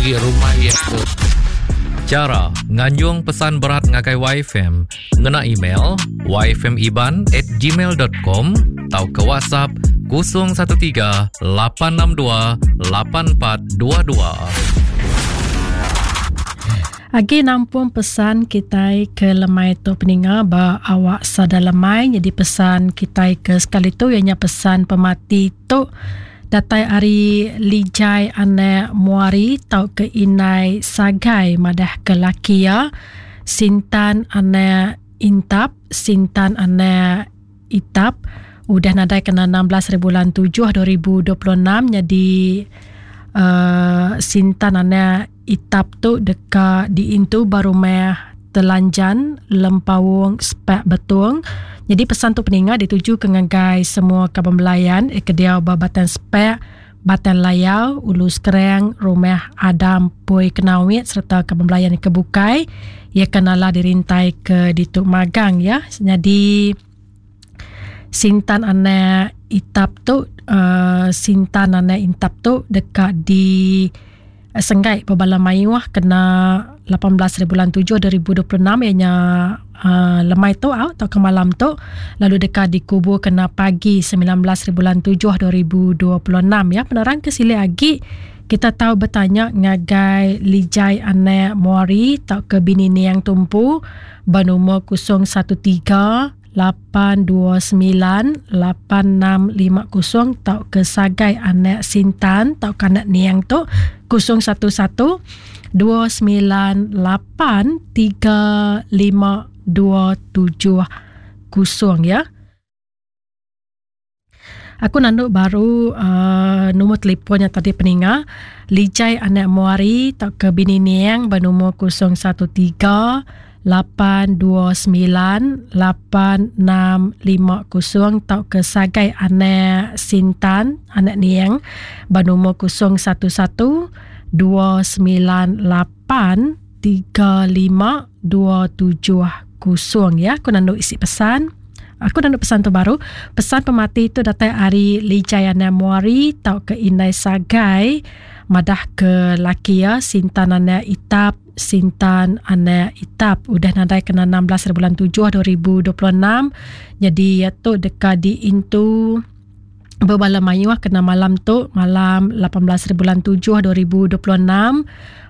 Agi rumah iya tu. Chara nganjung pesan berat ngagai YFM ngena email yfmiban@gmail.com tauka WhatsApp 013 862 8422. Agi nampung pesan kitai ke lemai tu peninga ba awak sada lemai nyadi pesan kitai ke sekali tu iya nya pesan pemati Tu datai ari Lijai anak Muari tauka indai Sagai madahka laki iya Sintan anak Intap, Sintan anak Itap udah nadai kena 16 hari bulan 7 2026 nyadi uh, Sintan anak Itap tu deka diintu ba rumah Telanjan, Lempaung, Spak Betong. Nyadi pesan tu peninga ditujuka ngagai semua kaban belayan ke diau ba Batang Spak, Batang Layau, Ulu Skrang, Rumah Adam Pui Kenawit sereta kaban belayan ke bukai. Iya ke nala dirintai ke ditu magang ya. Nyadi Sintan anak Itap tu uh, Sintan anak Intap tu deka di Senggai bebala mayuh kena 18 hari bulan 7 2026 iya nya uh, lemai tu au tauka malam tu lalu deka dikubur kena pagi 19 hari bulan 7 2026 ya. Penerang ke silik agi kita tau betanya ngagai Lijai Anak Muari tauka bini Niang Tumpu ba nomor 013 829 8650 tauka Sagai Anak Sintan tauka anak Niang tu 011 298 3527 ya. Aku nandu baru uh, nombor telefon nya tadi peninga. Lijai Anak Muari tauka bini Niang ba nombor 013 829 8650 tauka Sagai Anak Sintan Anak Niang ba nombor 011 298 3527 ya. Aku nandu isi pesan. Aku nandu pesan tu baru. Pesan pemati tu datai ari Lijai Anak Muari tauka Indai Sagai madah ke laki iya Sintan Anak Itap Sintan Anak Itap udah nadai kena 16 hari bulan 7 2026. Jadi iya tu deka diintu bebala mayuh kena malam tu malam 18 hari bulan 7 2026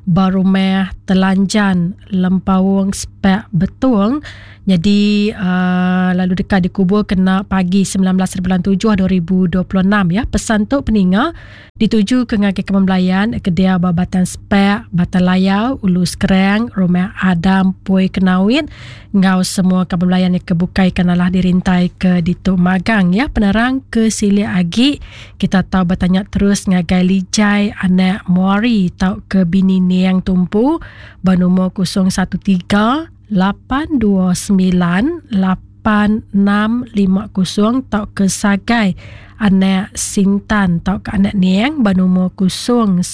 ba rumah Telanjan Lempaung Spak Betong jadi uh, lalu deka dikubur kena pagi 19 hari bulan 7 2026 ya. Pesan tu peninga Dituju ke ngagai Kebun Belayan, ke diau ba Batang Spak, Batang Layau, Ulu Skrang, Rumah Adam Pui Kenawit enggau semua Kebun Belayan ke bukai ke nalah dirintai ke ditu magang ya. Penerang ke silik agi kita tau betanya terus ngagai Lijai anak Muari tauka bini Niang Tumpu ba nomor 013 829 8650 tauka Sagai anak Sintan tauka anak Niang ba nomor 011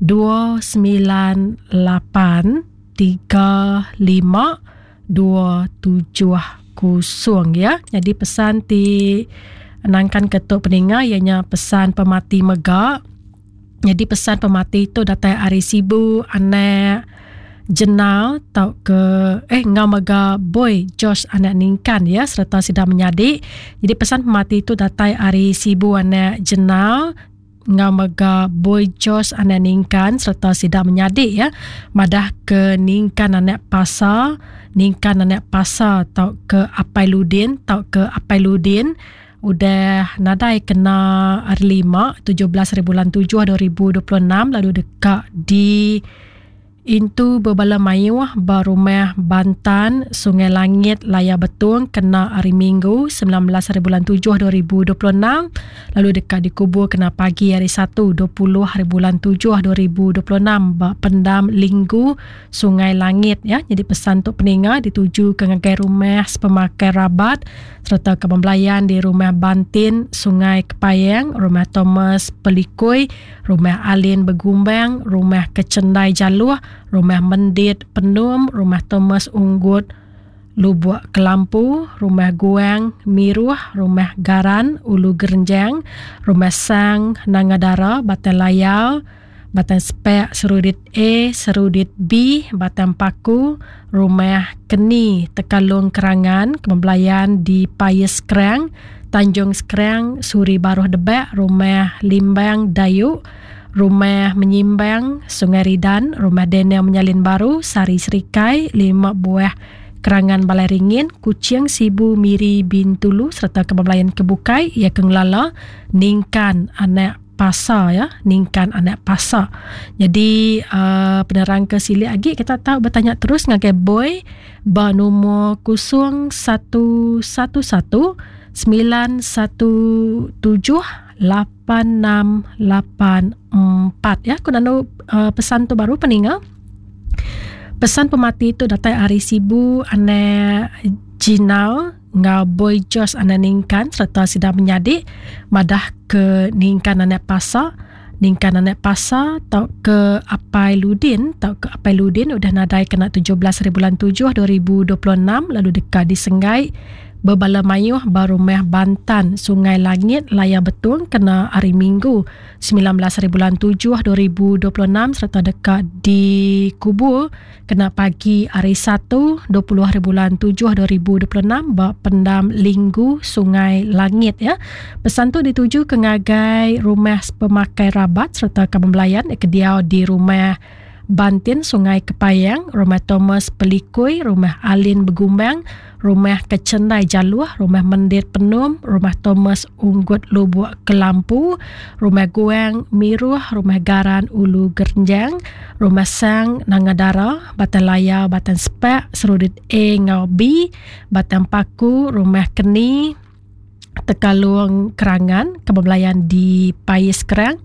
298 35 270 ya. Jadi pesan ti nangkan ke tu peninga iya nya pesan pemati mega. Nyadi pesan pemati tu datai ari Sibu anak Jenal tauka eh enggau mega Boy George anak Ningkan ya sereta sida menyadi. Jadi pesan pemati tu datai ari Sibu anak Jenal enggau mega Boy George anak Ningkan sereta sida menyadi ya madah ke Ningkan anak Pasa, Ningkan anak Pasa tauka Apai Ludin tauka Apai Ludin Udah nadai kena hari lima 17 hari bulan 7 2026 lalu deka di intu bebala mayuh ba rumah Bantan Sungai Langit Layar Betong kena hari Minggu 19 hari bulan 7 2026 lalu deka dikubur kena pagi hari Satu 20 hari bulan 7 2026 ba Pendam Linggu Sungai Langit ya. Jadi pesan tu peninga dituju ke ngagai rumah sepemakai rabat sereta kaban belayan di Rumah Bantin, Sungai Kepayang, Rumah Thomas Pelikui, Rumah Alin Begumbang, Rumah Kechendai Jaluh, Rumah Mendit Penum, Rumah Thomas Unggut Lubuk Kelampu, Rumah Guang Miruh, Rumah Garan Ulu Gerenjang, Rumah Sang Nanga Dara, Batang Layar, Batang Spak Serudit A, Serudit B, Batang Paku, Rumah Keni Tekalong Kerangan, Kebelayan di Pais Skrang, Tanjung Skrang, Suri Baruh Debak, Rumah Limbang Dayu, Rumah Menyimbang, Sungai Ridan, Rumah Daniel Menyalin Baru, Sari Serikai, lima buah Kerangan Balai Ringin, Kuching, Sibu, Miri, Bintulu sereta kebelayan ke bukai iya ke ngelala Ningkan Anak Pasa ya, Ningkan Anak Pasa. Jadi uh, penerang ke silik agi kita tau betanya terus ngagai Boy ba nomor 0111 917 8684 ya. Aku nanu uh, pesan tu baru peninga. Pesan pemati tu datai ari Sibu anak Jinal enggau Boy Jos anak Ningkan sereta sida menyadi madah ke Ningkan anak Pasa Ningkan anak Pasa tauka Apai Ludin tauka Apai Ludin udah nadai kena 17 hari bulan 7 2026 lalu deka disenggai bebala mayuh ba Rumah Bantan Sungai Langit Layar Betong kena hari Minggu 19 hari bulan 7 2026 sereta deka dikubur kena pagi hari Satu 20 hari bulan 7 2026 ba Pendam Linggu Sungai Langit ya. Pesan tu dituju ke ngagai rumah pemakai rabat sereta kaban belayan ke diau di rumah Bantin Sungai Kepayang, Rumah Thomas Pelikui, Rumah Alin Begumbang, Rumah Kechendai Jaluh, Rumah Mendit Penum, Rumah Thomas Unggut Lubuk Kelampu, Rumah Guang Miruh, Rumah Garan Ulu Gerenjang, Rumah Sang Nanga Dara, Batang Layar, Batang Sepak, Serudit A enggau B, Batang Paku, Rumah Keni, Tekalung Kerangan, Kebablayan di Pais Kerang,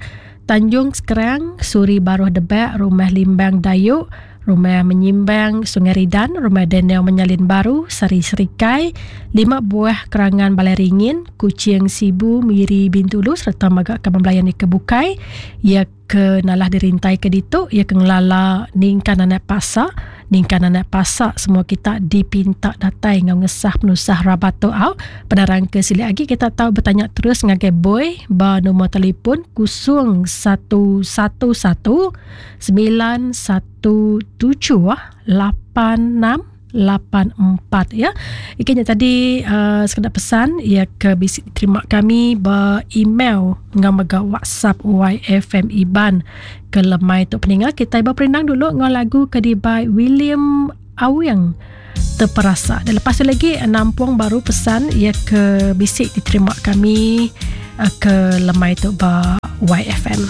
Tanjung Sekerang, Suri Baruh Debak, Rumah Limbang Dayu, Rumah Menyimbang Sungai Ridan, Rumah Daniel Menyalin Baru, Sari Serikai, lima buah Kerangan Balai Ringin, Kuching Sibu, Miri Bintulu sereta mega kaban belayan ke bukai. Iya ke nalah dirintai ke ditu iya ke ngelala ningkan anak pasak ningkan anak pasak semua kita dipinta datai enggau ngesah penusah rabat tu au penerang ke silik agi kita tau betanya terus ngagai boy ba nombor telefon 0111 917 86 84 ya. Ikan nya tadi uh, sekeda pesan ya ke bisi diterima kami ba email enggau mega WhatsApp YFM Iban ke lemai tu peninga kita ba perindang dulu enggau lagu ke dibai William Awing terperasa. Dan lepas tu lagi nampung baru pesan ya ke bisi diterima kami uh, ke lemai tu ba YFM.